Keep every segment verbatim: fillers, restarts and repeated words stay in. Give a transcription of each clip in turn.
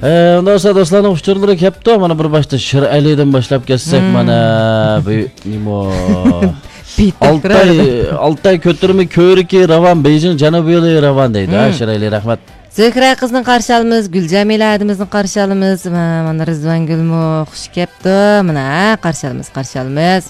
ئە، ئۇنداق بولسا دوستلارنىڭ ئۇچۇرلىرى كەپتۇ. مانا بىر باشتا شىر ئەلىدىن باشلاپ كەتسەك، مانا بۇ نېمە؟ ئالتاي، ئالتاي كۆتۈرمە كۆۋرۈكى راۋان، بېيجىڭ جەنۇبىي يولى راۋان دەيدۇ. ھە، شىر ئەلى، رەھمەت. زۆھرە قىزنى قارشى ئالىمىز، گۈلجەمىلە ھەدىمىزنى قارشى ئالىمىز. مانا رىزۋانگۈلمۇ خۇش كەپتۇ. مانا، ھە، قارشى ئالىمىز، قارشى ئالىمىز.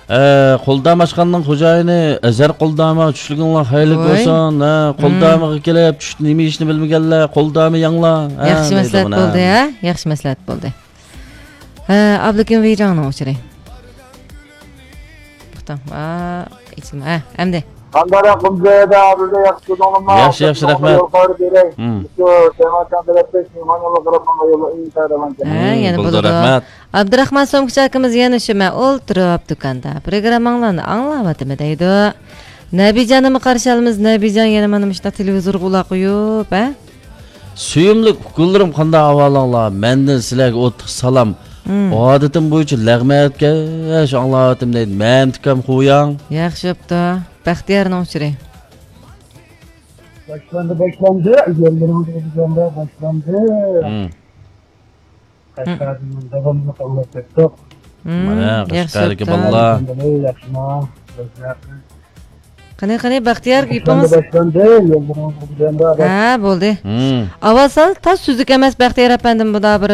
ئە، قولدام ئاشخانىنىڭ خوجايىنى ئەزھەر قولدامغا چۈشلۈكۈڭلار خەيرلىك بولسۇن. ھە، قولدامغا كېلىپ چۈشتە نېمە يېيىشنى بىلمىگەنلەر، قولدامى يەڭلار. ھە، ياخشى مەسلىھەت بولدى، ھە؟ ياخشى مەسلىھەت بولدى. ھە، ئابلىكىم ۋېيجاڭنىڭ ئۇچۇرى. توختاڭ. ھە، ئەمدى. قانداق ئەھۋالىڭلار؟ ياخشى، ياخشى، رەھمەت. يول خەۋىرى بېرەي. شۇ سەمەرقەنت تەرەپتە مېھمان يولغا قاراپ ماڭغان يوللار ئىنتايىن راۋان ئىكەن. ھە، يەنە بولىدۇ. رەھمەت. ئابدۇراخمان سومكىچى ئاكىمىز يەنە شۇ، مەن ئولتۇرۇپ دۇكاندا پروگرامماڭلارنى ئاڭلاۋاتىمەن دەيدۇ. نەبىجاننىمۇ قارشى ئالىمىز. نەبىجان يەنە مانا مۇشۇنداق تېلېۋىزورغا قۇلاق قويۇپ، ھە؟ سۆيۈملۈك ئۇكىلىرىم، قانداق ئەھۋالىڭلار؟ مەندىن سىلەرگە ئوتلۇق سالام. ئادىتىم بويىچە لەغمەنكەش ئاڭلاۋاتىمەن دەيدۇ. مەمتىكام خوياڭ. ياخشى بوپتۇ. بەختىيارنىڭ ئۇچۇرى. باشلاندى، باشلاندى. يوللىرىڭىز بىلەن باشلاندى. قەشقەردىن داۋاملىق ئاڭلاپ كەتتۇق. مانا، قەشقەردىكى بالىلار. ياخشىما؟ قېنى، قېنى، بەختىيار، گېپىڭىز. باشلاندى، باشلاندى. يوللىرىڭىز بىلەن بار. ھە، بولدى. ئاۋۋال سەل تاز سۈزۈك ئەمەس، بەختىيار ئەپەندىم، بۇدا بىر